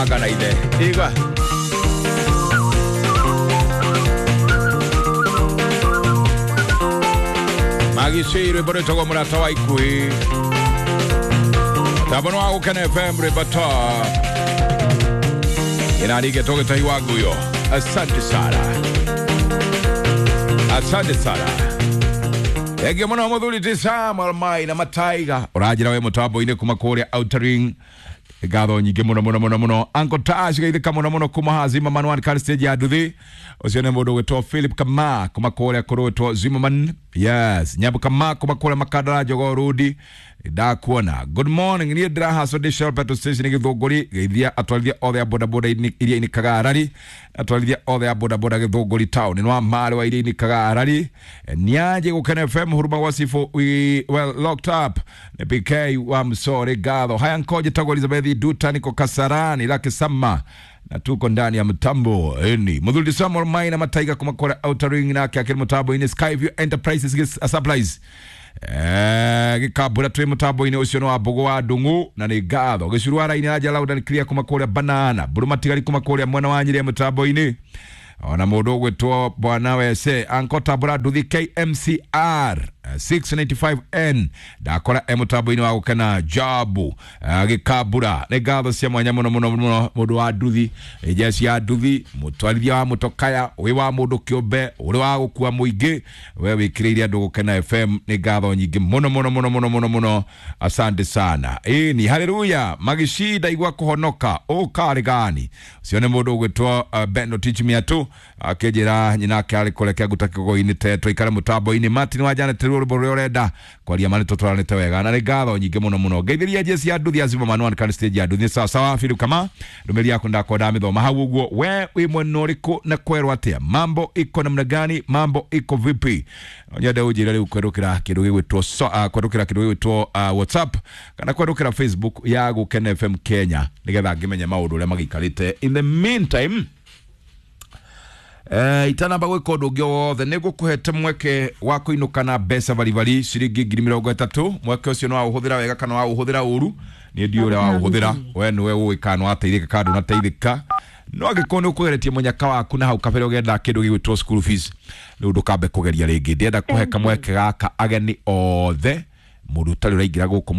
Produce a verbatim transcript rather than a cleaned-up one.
Magana ithe igwa magicii rwimbo rwitagwo Mũrata wa Ikuhĩ, mũtambo nĩ wa Gũkena F M, rwimbo ta ĩrarigĩtwo gĩtahi wa nguyo. Asante sana, asante sana. Thengiũ mũno mũthuri ti Samuel Mai na Mataiga, ũranjĩra wĩ mũtambo-inĩ kuma kũrĩa Outer Ring. Ngatho nyingĩ mũno mũno mũno mũno. Uncle Tash geithĩka mũno mũno kuma haha Zimmerman one car stage ya nduthi. Ũcio nĩ mũndũ ũgwĩtwo Philip Kama kuma kũrĩa kũrũĩtwo Zimmerman. Yes, Nyambu Kama kuma kũrĩa Makandara Jogoo Road, ndakuona. Good morning, niĩ ndĩrahaco ndĩ Shell petrol station Gĩthũngũri. Geithia atwarithia othe a bodaboda iria inĩkaga Arari, atwarithia othe a bodaboda Gĩthũngũri town nĩ wa marĩ wa iria inĩkaga Arari. Niaje Gũkena F M, huruma wa Sifo, we well locked up nĩ P K wa Msore. Ngatho haya nkoje tagwo Elizabeth Duta, niko Kasarani Lakisama na tuko ndani ya mtambo eni. Muthuri Samuel Maina Mataiga kuma kora Outer Ring nake akiri mutambo-inĩ. Skyview Enterprises gis- Supplies Eh, gĩkambũra twĩ mũtambo-inĩ ũcio nĩ wa Mbũgũ wa Ndung'u na nĩ ngatho. Gĩcuru ara-inĩ aja loud and clear kuma kũrĩa Banana Mbũrũ Matigari kuma kũrĩa mwena wa Nyĩrĩ mũtambo-inĩ, ona mũndũ ũgwĩtwo Bwana Wese Anko Tambũra Nduthi K M C R six nine five N ndakora e mũtambo-inĩ wa Gũkena Jabu gĩkambura. Nĩ ngatho cia mwanya mũno mũno mũno. Mũndũ wa nduthi, jeci ya nduthi, mũtwarithia wa mũtokaya, wĩ wa mũndũ kĩũmbe, ũrĩ wa gũkua mũingĩ, we wĩkĩrĩire andũ Gũkena F M, nĩ ngatho nyingĩ mũno mũno mũno mũno mũno mũno. Asante sana. Ĩni haleluya, magicinda igwa kũhonoka ũkarĩ gani. Ũcio nĩ mũndũ ũgwĩtwo uh, Beno Teach Me tu akĩnjĩra nyina ake arĩ kũrĩa Kĩanguta kĩgogo-inĩ tetwo ikare mũtambo-inĩ. Martin wa Janet, rwĩmbo rũrĩa ũrenda kwaria mani tũtwaranĩte wega na nĩ ngatho nyingĩ mũno mũno. Ngeithĩria jeci ya nduthi ya Zimmerman one can stage ya nduthi. Sawa sawa, Philip Kama, ndũmĩrĩri yaku ndakwa ndamĩthoma hau ũguo. We wĩ mwena ũrĩkũ na kwerwo atĩa? Mambo iko namna gani? Mambo iko vipi? Nyende ũnjĩre rĩu kwerũkĩra kĩndũ gĩgwĩtwo so, uh, kwerũkĩra kĩndũ gĩgwĩtwo uh, WhatsApp kana kwerũkĩra Facebook ya Gũkena F M Kenya nĩgetha ngĩmenye maũndũ ũrĩa magĩikarĩte. In the meantime, Eh, itanamba gwĩka ũndũ ũngĩ o wothe, nĩ ngũkũhete mweke wa kũinũka na mbeca baribari ciringi ngiri mĩrongo ĩtatũ. Mweke ũcio nĩ waũhũthĩra wega kana waũhũthĩra ũru, niĩ ndiũ ũrĩa waũhũthĩra. We nĩwe ũĩ kana nĩwateithĩka kana ndũnateithĩka. No angĩkorwo nĩ ũkũgeretie mũnyaka waku na hau kabere ũgenda kĩndũ gĩgwĩtwo school fees, rĩu ndũkambe kũgeria rĩngĩ. Ndĩrenda kũhe kamweke gaka ageni othe, mũndũ ũtarĩ ũraingĩra gũkũ mũthenya.